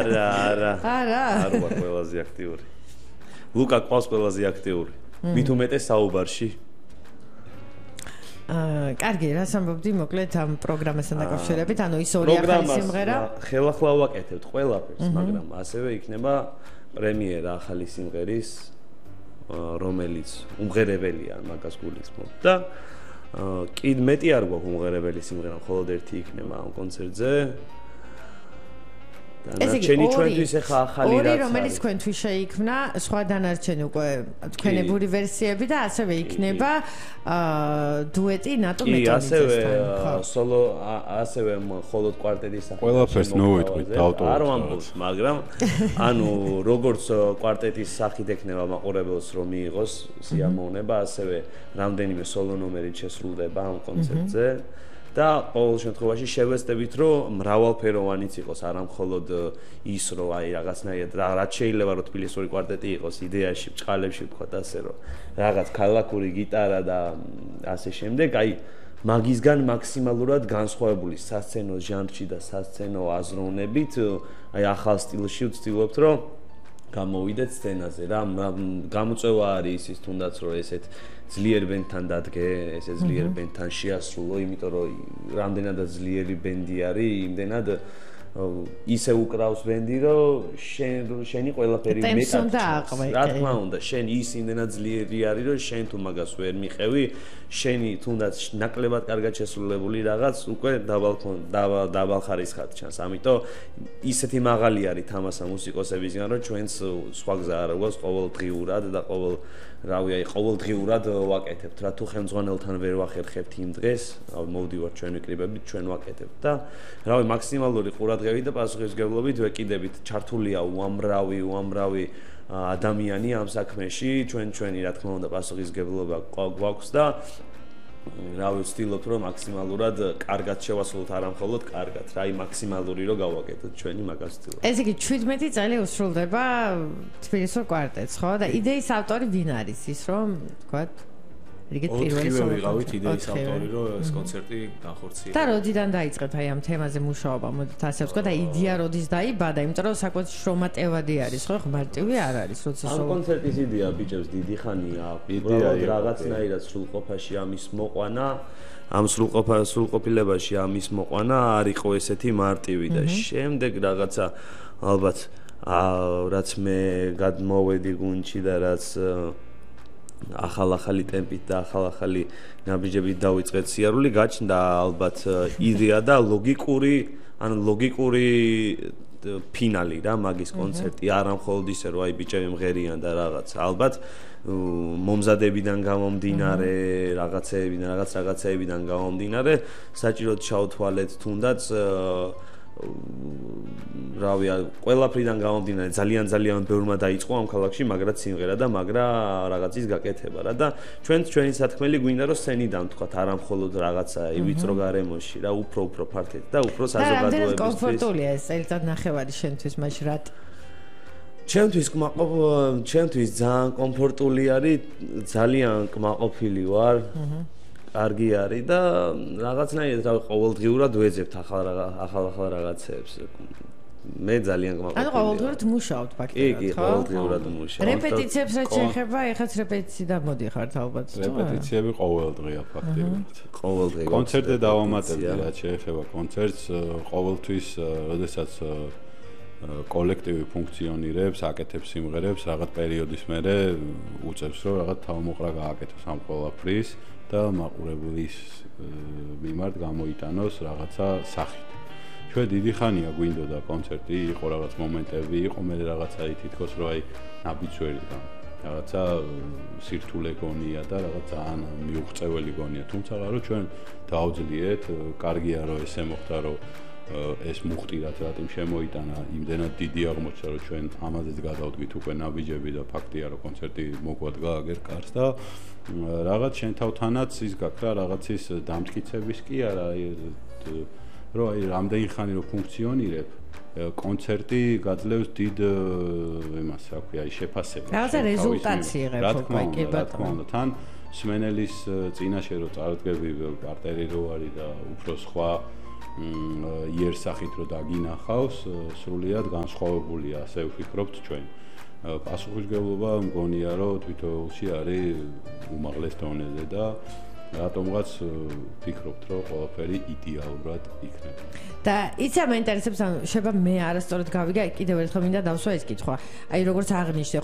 არა არ ვარ ყველაზე აქტიური ლუკა ყავს ყველაზე აქტიური მით უმეტეს საუბარში კარგი, რას ამბობდი მოკლედ ამ პროგრამასთან დაკავშირებით, ანუ ის ორი ახალი სიმღერა ხელახლა ვაკეთებთ ყველაფერს, მაგრამ ასევე იქნება პრემიერა ახალი სიმღერის, რომელიც უმღერებელია მაგას გულისხმობ და კიდ მეტი არ გვაქვს უმღერებელი სიმღერა, მხოლოდ ერთი იქნება ამ კონცერტზე. დანარჩენი ჩვენთვის ახლა ახალი რაც არის. ორი რომელიც თქვენთვის შეიქმნა, სხვა დანარჩენი უკვე თქვენებური ვერსიები და ასევე იქნება დუეტი ნატო მეტოლიძესთან. ასევე სოლო ასევე მხოლოდ კვარტეტის სახით. ყველაფერს ნოვიტყვით დავტოვოთ. არ ვამბობ, მაგრამ ანუ როგორც კვარტეტის სახით ექნება მაყურებელს რომ მიიღოს სიამოვნება, ასევე რამდენიმე სოლო ნომერი შესრულდება ამ კონცერტზე. და ყოველ შემთხვევაში შევეცდებით რომ მრავალფეროვანიც იყოს არა მხოლოდ ის რომ აი რაღაცნაირად რაც შეიძლება რომ თბილისური კვარტეტი იყოს იდეაში ბჭყალებში ვთქვა ასე რომ რაღაც ქალაქური გიტარა და ასე შემდეგ აი მაგისგან მაქსიმალურად განსხვავებული სასცენო ჟანრში და სასცენო აზროვნებით აი ახალ სტილში ვცდილობთ რომ გამოვიდეთ სცენაზე რა გამოწვევა არის ის თუნდაც რომ ესეთ ძლიერ ბენდთან დადგე, ესე ძლიერ ბენდთან შეასრულო, იმიტომ რომ რამდენადაც ძლიერი ბენდი არის, იმდენად ისე უკრავს ბენდი, რომ შენი ყველაფერი მეტად რა თქმა უნდა, შენ ის იმდენად ძლიერი არის, რომ შენ თუ მაგას ვერ მიყევი, შენი თუნდაც ნაკლებად კარგად შესრულებული რაღაც უკვე დაბალ ხარისხად ჩანს. ამიტომ ისეთი მაღალი არის თამასა მუსიკოსებისგან, რომ ჩვენს სხვა გზა არ გვაქვს ყოველდღიურად და ყოველდღიურად ვაკეთებთ რა თუ ხელმძღვანელთან ვერ ვახერხებთ იმ დღეს მოვდივართ ჩვენი კლიპებით ჩვენ ვაკეთებთ და რავი მაქსიმალური ყურადღებით და პასუხისმგებლობით ვეკიდებით ჩართულია უამრავი ადამიანი ამ საქმეში ჩვენი რა თქმა უნდა პასუხისმგებლობა გვაქვს და რავი ვცდილობთ რომ მაქსიმალურად კარგად შევასრულოთ არა მხოლოდ კარგად რა აი მაქსიმალური რომ გავაკეთოთ ჩვენი მაგას ვცდილობთ ესე იგი 17 წელი უსრულდება თბილისურ კვარტეტს ხო და იდეის ავტორი ვინ არის ის რომ თქვათ რიგით პირველი ვიყავით იდეის ავტორი რომ ეს კონცერტი განხორციელდა და როდიდან დაიწყეთ აი ამ თემაზე მუშაობა მოდით ასე ვთქვა და იდეა როდის დაიბადა იმიტომ რომ საკუთარ შრომატევადი არის ხო მარტივი არ არის როცა ამ კონცერტის იდეა ბიჭებს დიდი ხანია უბრალოდ რაღაცნაირად სრულყოფაში ამის მოყვანა ამ სრულყოფილებაში ამის მოყვანა არ იყო ესეთი მარტივი და შემდეგ რაღაცა ალბათ რაც მე გადმოვედი გუნდში და რაც ახალი ტემპით და ახალი ნაბიჯებით დავიწყეთ სიარული გაჩნდა ალბათ იდეა და ლოგიკური ფინალი რა მაგის კონცერტი არა მხოლოდ ისე რომ აი ბიჭები მღერიან და რაღაც ალბათ მომზადებიდან გამომდინარე რაღაცეებიდან გამომდინარე საჭიროდ ჩავთვალეთ თუნდაც რავი ყველაფრიდან გამომდინარე ძალიან ბევრმა დაიწყო ამ ქალაქში მაგრა სიმღერა და მაგრა რაღაცის გაკეთება რა და ჩვენი სათქმელი გვინდა რომ სცენიდან თქვათ არა მხოლოდ რაღაცა ვიწრო გარემოში რა უფრო ფართედ და უფრო საზოგადოებისთვის და კომფორტულია ეს წელიწად ნახევარი შენთვის მაშ რატ ჩემთვის ძალიან კომფორტული არის ძალიან კმაყოფილი ვარ კარგი არის და რაღაცნაირად რავი ყოველდღიურად ვეძებთ ახალ რაღაცებს მე ძალიან კმაყოფილია ანუ ყოველდღიურად მუშაობთ ფაქტობრივად კი ყოველდღიურად მუშაობ რეპეტიციებს რაც შეეხება ეხაც რეპეტიციიდან მოდიხართ ალბათ რეპეტიციები ყოველდღია ფაქტობრივად ყოველდღე კონცერტზე დავამატებდი რაც შეეხება კონცერტს ყოველთვის როდესაც კოლექტივი ფუნქციონირებს, აკეთებს სიმღერებს, რაღაც პერიოდის მერე უწევს რომ რაღაც თავმოყრა გააკეთოს ამ ყველაფრის და მაყურებლის მიმართ გამოიტანოს რაღაცა სახით. ჩვენ დიდი ხანია გვინდოდა კონცერტი, იყო რაღაც მომენტები, იყო მე რაღაცა თითქოს რომ აი ნაბიჯვერი და რაღაცა სირთულე გონია და რაღაც ძალიან მიუღწეველი გონია, თუმცა რომ ჩვენ დავძლიეთ, კარგია რომ ესე მოხდა რომ ეს მუხტირად რატომ შემოიტანა იმდენად დიდი აღმოჩნდა რომ ჩვენ ამაზეც გადავდგით უკვე ნაბიჯები და ფაქტია რომ კონცერტი მოგვადგა აგერ კარს და რაღაც შენ თავთანაც ის გაქრა რაღაცის დამტკიცების კი არა რომ აი რამდენი ხანი რომ ფუნქციონირებ კონცერტი გაძლევს დიდ იმას რა ქვია აი შეფასებას რაღაცა რეზულტატი იღებ უკვე კი ბატონო თან სმენელის წინაშე რომ წარდგები პარტერი რო არის და უფრო სხვა იერსახით რომ დაგინახავს, სრულიად განსხვავებულია, ასე ვფიქრობთ ჩვენ. პასუხისმგებლობა მგონია რომ თვითოეულში არის უმაღლეს დონეზე და რატომღაც ვფიქრობთ რომ ყველაფერი იდეალურად იქნება. და იცი მაინტერესებს, ანუ შეიძლება მე არასწორად გავიგე, კიდევ ერთხელ მინდა დავსვა ეს კითხვა. აი როგორც აღნიშნე,